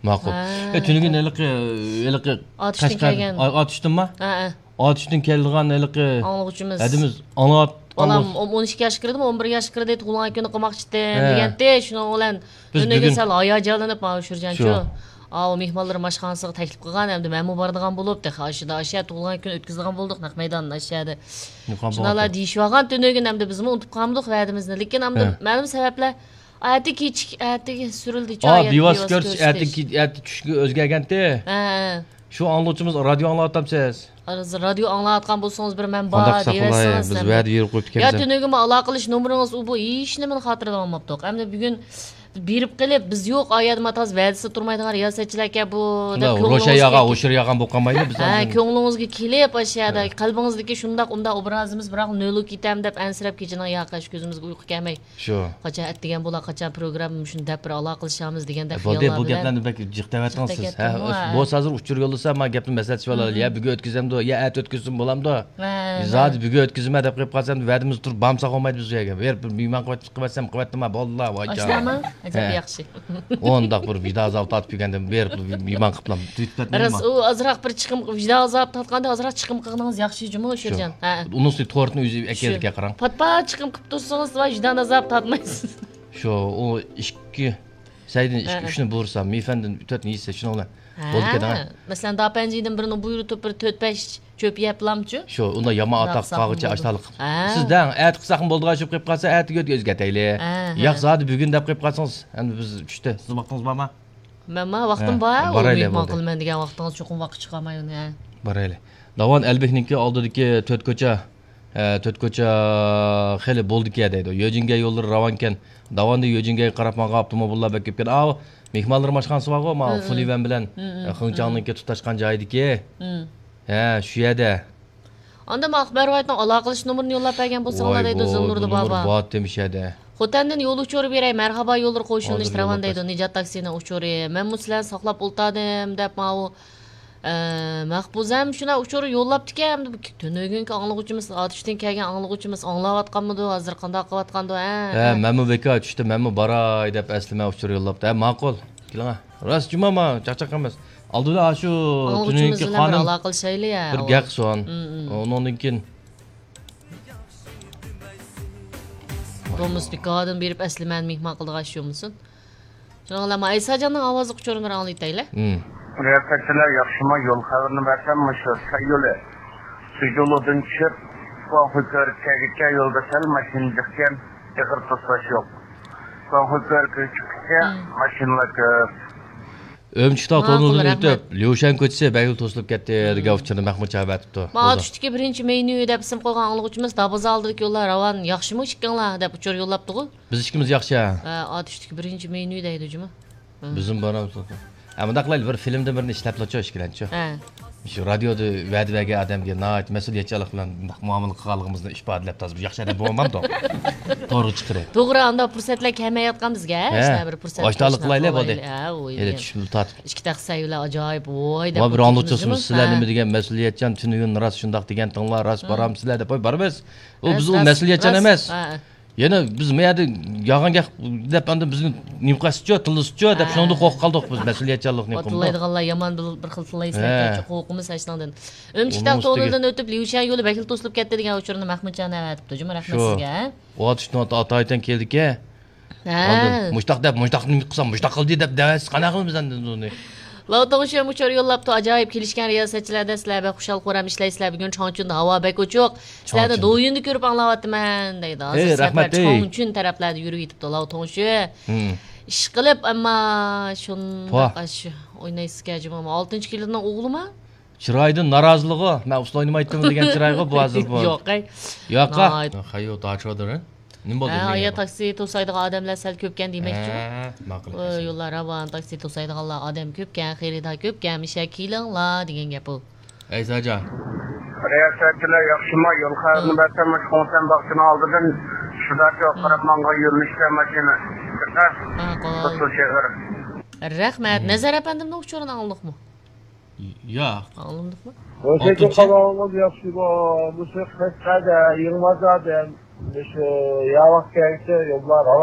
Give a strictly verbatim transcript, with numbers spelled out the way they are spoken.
ماقۇل. ھە. ئە، تۈنۈگۈن ھېلىقى، ھېلىقى ئاتۇشتىن قەشقەر-، كەلگەن. ئا-، ئاتۇشتىنما؟ ھە، ھە. ئاتۇشتىن كەلگەن ھېلىقى ئاڭلىغۇچىمىز. ھەدىمىز ئاڭلاپ-، بالام ئاڭلىغۇچ-، ئون، ئون ئىككى ياشقا كىردىمۇ، ئون بىر ياشقا كىردى، تۇغۇلغان كۈنى قوماق ئىچتىم، ھە، دېگەنتى. شۇنىڭ بىلەن بىز تۈنۈگۈن بۈگۈن سەل ھاياجانلىنىپ ماۋۇ شۇرجانچۇ. شۇ. ئاۋۇ مېھمانلىرىم ئاشخانىسىغا تەكلىپ قىلغان، ئەمدى مەنمۇ بارىدىغان بولۇپ، تېخى ئاشۇدا ئاشۇ تۇغۇلغان كۈن ئۆتكۈزىدىغان بولدۇق، نەق مەيدان ئاشۇ يەردە. شۇنداقلا دېيىشىۋالغان تۈنۈگۈن، ئەمدى بىزمۇ ئۇنتۇپ قالمىدۇق ۋەدىمىزنى. لېكىن ئەمدى ھە. مەلۇم سەۋەبلەر، ئەتە كېچىك، ئەتىگە سۈرۈلدى. ئا، بىۋاسىتە كۆرۈشۈش، ئەتە كېچىك، ئەتە چۈشكە ئۆزگەرگەنتى. ھە، ھە. شۇ ئاڭلىغۇچىمىز رادىيو ئاڭلاۋاتامسىز؟ ھازىر رادىيو ئاڭلاۋاتقان بولسىڭىز، بىر مەن بار دېيىۋەتسىڭىز. بىز ۋەدە بېرىپ قويۇپ يا كەلسەم. تۈنۈگۈنمۇ ئالاقىلىشىش نومۇرىڭىز ئۇ بۇ ھېچنېمىنى خاتىرىلىۋالماپتۇق. ئەمدى بۈگۈن بېرىپ قېلىپ، بىز يوق، ئا يەردە ماتاز ۋەدىسى تۇرمايدىغان رىياسەتچىلەركەن بۇ دەپ شۇنداق كۆڭلىڭىزگە روشەن ياغا، كېلىپ، ھوشۇر ياغان بولۇپ قالمايلى بىز ھە، ھازىر. كۆڭلىڭىزگە كېلىپ، ئاشۇ يەردە ھە. قەلبىڭىزدىكى شۇنداق، ئۇنداق ئوبرازىمىز، بىراق نۆلگە كېتەم دەپ ئەنسىرەپ، كېچىنىڭ ياقى ئاشۇ كۆزىمىزگە ئۇيقۇ كەلمەي. شۇ. قاچان ئەتىگەن بولا، قاچان پروگرامما شۇنى دەپ بىر ئالاقىلىشامىز دېگەندەك بولدى، خىياللار بۇ بىلەن. گەپلەرنى بەك جىق دەۋەتتىڭىز سىز. جىق دەۋەتتىمغۇ، ھە، ھە. بولسا ھازىر ئۇچۇر يوللىسا، ما گەپنى مەسلىھەتلىشىۋالايلى. مم. يا بۈگۈن ئۆتكۈزەمدۇ، يا ئەتە ئۆتكۈزسىمۇ بولامدۇ؟ ھە، زادى ھە. بۈگۈن ئۆتكۈزىمەن دەپ قويۇپ قالسام، ۋەدىمىزدە تۇرۇپ بارمىساق بولمايدۇ بىز بۇ يەرگە. بېرىپ بىر مېھمان قىلىۋەتسەم قىلىۋەتتىم، بولدىلا، ۋاي جان. ئاشۇنداقمۇ؟ ئەجەب ھە. ياخشى. ئۇنداق بىر ۋىدا ئازابى تارتىپ كەلگەندىن بېرىپ بىر مېھمان قىلىپلا تۈگىتىپ كەتمەيمۇ؟ راست، ئۇ ئازراق بىر چىقىم، ۋىدا ئازابى تارتقاندا ئازراق چىقىم قىلغىنىڭىز ياخشى جۇمۇ، شۇ. شۆرجان. ھە. ئۇنىڭ ئۈستىگە تورتنى ئۆزى شۇ. ئەكەلدىكەن، قاراڭ. پات-پات چىقىم قىلىپ تۇرسىڭىز، ۋاي، ۋىجدان ئازابى تارتمايسىز. شۇ، ئۇ ئىككى سەيدىن ئىككى، ھە، ئۈچنى بۇيرۇسا، مىفەندىن تۆتنى يېسە، شۇنىڭ بىلەن ھە. بولدى كەتتى، ھە. مەسىلەن، داپەنجىدىن بىرنى بۇيرۇتۇپ، بىر تۆت-بەش چۆپ يەپلامچۇ؟ شۇ، ئۇنداق يامان ئاتاق قىلساقمۇ قالغۇچە بولىدۇ. ئاشتاقلىق. ھە. سىز دەڭ، ئەتە قىلساقمۇ بولىدىغان چۆپ قېلىپ قالسا، ئەتىگە ئۆتكە ئۆزگەرتەيلى. ھە، ھە. ياق، زادى بۈگۈن دەپ قېلىپ قالسىڭىز، ئەمدى بىز چۈشتى. سىز ۋاقتىڭىز بارمۇ؟ مەنمۇ ۋاقتىم ھە، بار، ئۇ بارايلى، مېھمان بولدى. قىلىمەن دېگەن ۋاقتىڭىز چوقۇم ۋاقىت چىقارماي ئۇنى، ھە. بارايلى. داۋان ئەلبېكنىڭكى ئالدىدىكى تۆت كوچا، ھە، تۆت كوچا خېلى بولدىكەن دەيدۇ. يۆجىنگەي يوللىرى راۋانكەن. داۋاندا يۆجىنگەيگە قاراپ ماڭغان ئاپتوموبىللار بەك كۆپكەن. ئاۋۇ مېھمانلىرىم ئاشخانىسى بارغۇ، ماۋۇ ھە، ھە. فۇلىۋەن بىلەن، ھە، ھە، ھە. خېڭچاڭنىڭكى تۇتاشقان جايىدىكى. ھە. ھە، شۇ يەردە. ئاندىن ئاقبەر ۋايتنىڭ ئالاقىلىشىش نومۇرىنى يوللاپ بەرگەن بولساڭلار دەيدۇ، زىلنۇردا بابا. بار تېمىشەدە. خوتەندىن يول ئۇچۇرى بېرەي، مەرھابا يوللىرى قوشۇلۇش ھازىر راۋان يوللاپ دەيدۇ، بەر. نىجات تاكسىنىڭ ئۇچۇرى. مەنمۇ سىلەرنى ساقلاپ ئولتۇردۇم دەپ ماۋۇ، ئە، مەھپۇزەم شۇنداق ئۇچۇر يوللاپتىكەن. ئەمدى بۇ تۈنۈگۈنكى ئاڭلىغۇچىمىز، ئاتۇشتىن كەلگەن ئاڭلىغۇچىمىز ئاڭلاۋاتقانمىدۇ، ھازىر قانداق قىلىۋاتقاندۇ، ھە؟ ھە، مەنمۇ بىكار چۈشتۈم، مەنمۇ باراي دەپ ئەسلىمە ئۇچۇر يوللاپتۇ. ھە، ماقۇل. كېلىڭە. راست جۇما، ما، چاقچاق ئەمەس. ئالدىدا ئاشۇ ئاڭلىغۇچىمىز تۈنۈگۈنكى بىلەن بىر قانۇن ئالاقىلىشايلى، ھە، بىر ئۇ. گەق سون. مم، مم. ئۇنىڭدىن كېيىن دومۇس بىكاردىن بېرىپ ئەسلىمەنى مېھمان قىلىدىغان ئىش بولمىسۇن. شۇنىڭ بىلەن ئەيساجاننىڭ ئاۋازلىق ئۇچۇرىنى بىر ئاڭلىتايلى. مم. رىياسەتچىلەر ياخشىمۇ؟ يول خەۋىرىنى بەرسەم، مۇشۇ سەي يولى سۇجۇلۇدىن چۈشۈپ، گۇاڭخۇي كۆۋرۈككە كەلگۈچە يولدا سەل ماشىنا جىقكەن، ئېغىر توسۇلۇش يوق. گۇاڭخۇي كۆۋرۈككە چىققۇچە مم. ماشىنىلار كۆپ. ئۈرۈمچى تاغ ماقۇل، تونۇلىدىن رەھمەت. ئۆتۈپ، ليۇشەن كوچىسى بەگىل توسۇلۇپ كەتتى، مم. دېگەن ئۇچۇرنى مەھمۇت چاۋ ئەتىپتۇ. ما بولدى. ئاتۇشتىكى بىرىنچى مېنيۇ دەپ ئىسىم قويغان ئاڭلىغۇچىمىز دابازا ئالدىدىكى يوللار راۋان ياخشىمۇ ئىككىڭلار دەپ ئۇچۇر يوللاپتىغۇ. بىز ئىككىمىز ياخشى، ھە. ھە، ئاتۇشتىكى بىرىنچى مېنيۇ دەيدۇ جۇمۇ. ھە. بىزمۇ بارامىز. ھە، مۇنداق قىلايلى، بىر فىلىمدىن بىرنى ئىشلەپلىچۇ ئىككىلەنچۇ. ھە. شۇ رادىيودا ۋەدە بەرگەن ئادەمگە ناھايىتى مەسئۇلىيەتچانلىق بىلەن مۇنداق مۇئامىلە قىلغانلىقىمىزنى ئىپادىلەپ، تازا بىر ياخشى ئادەم بولمامدۇ؟ تورغا چىقىرىپ. توغرا، ئانداق پۇرسەتلەر كەلمەيۋاتقان بىزگە. ھە. شۇنداق بىر پۇرسەت ئاشتاقلىق قىلايلى، بولدى. ھە، ئۇ ھېلى يەنە. چۈشۈمنى تارتىپ. ئىككى تەخسە بىلەن ئاجايىپ، ۋاي دەپ ۋاي، بىر ئاڭلىغۇچىمىز، سىلەر ھە. نېمە دېگەن مەسئۇلىيەتچان، تۈنۈگۈن راست شۇنداق دېگەنتىڭلار، راست ھە. بارامسىلەر دەپ، ۋاي، بارىمىز. ئۇ راست، بىز ئۇ راست، مەسئۇلىيەتچان راست. ئەمەس. ھە. يەنە بىز ما يەردە يالغان گەپ دەپ، ئاندىن بىزنى نېمە قىلسىچۇ، تىللىسىچۇ دەپ، ھە. شۇنىڭدىن قورقۇپ قالدۇق بىز، مەسئۇلىيەتچانلىقنى قىلدۇق. تىللايدىغانلار يامان بىل-، بىر خىل تىللايسىلەر، ھە. قورقىمىز ھەشنىڭدىن. ئۈرۈمچى تاغ تونېلىدىن ئۆتۈپ، ليۇشيەن يولى بەكلا توسۇلۇپ كەتتى دېگەن ئۇچۇرنى مەھمۇتجان ئەۋەتىپتۇ جۇمۇ، رەھمەت سىزگە. شۇ. ئۇ ئاتۇشتىن ئاتايتەن كېلىدىكەن. ھە. ئاندىن مۇشتاق دەپ، مۇشتاق نېمە قىلسام، مۇشتاق قىلدى دەپ دەۋەتسە، قانداق قىلىمىز ئەمدى بۇنى؟ لاۋ توڭشۈن ئۇچۇر يوللاپتۇ، ئاجايىپ كېلىشكەن رىياسەتچىلەردە سىلەر بەك خۇشال خۇرام ئىشلەيسىلەر، بۈگۈن چاڭچۈندە ھاۋا بەك ئوچۇق، سىلەرنى چاڭچۈن. دويىندا كۆرۈپ ئاڭلاۋاتىمەن دەيدۇ. ھەي، ھازىر سەپەر رەھمەت، ھەي. چاڭچۈن تەرەپلەردە يۈرۈۋېتىپتۇ لاۋ توڭشۈن. ھىم. ئىشقىلىپ، ئەمما شۇنداق پۇ. ئاشۇ ئوينايسىزكەن جۇمۇ، ئالتىنچى كىلىدنىڭ ئوغلىما؟ چىرايىدىن نارازىلىقى، مەن ئۇسسۇل ئوينىمايتتىم دېگەن چىرايغۇ بۇ ھازىر بۇ. ياق، ئەي. ياققا. ناھايىتى. خەييۇ تاچۇدۇر. نېمە بولدى، ھە، نېمە ئايا بولدى؟ تاكسى توسايدىغان ئادەملەر سەل كۆپكەن دېمەكچىمۇ؟ ھە، ماقۇل. ئۇ يوللار راۋان، تاكسى توسايدىغانلار ئادەم كۆپكەن، خېرىدار كۆپكەن، مىشە كېلىڭلار دېگەن گەپ ئۇ. ئەيساجان. رىياسەتچىلەر ياخشىمۇ؟ يول خەۋىرىنى ھە. بەرسەم، مۇشۇ خۇڭسەن باغچىنىڭ ئالدىدىن شۇداچۇ ھە. قاراپ ماڭغان يۆنىلىشتە ماشىنا چىقىر. ماقۇل. ئېغىر. رەھمەت. ھە. نەزەر ئەپەندىمنىڭ ئۇچۇرىنى ئاڭلىدىقمۇ؟ ياق. ئاڭلىمىدىقمۇ؟ ۋەزىيەتنى ئالتىنچى. قاراۋالغان ياخشى بۇ. مۇشۇ قەشقەردە يېڭىماز ئادەم. مۇشۇ ياۋاق كەلسە يوللار راۋان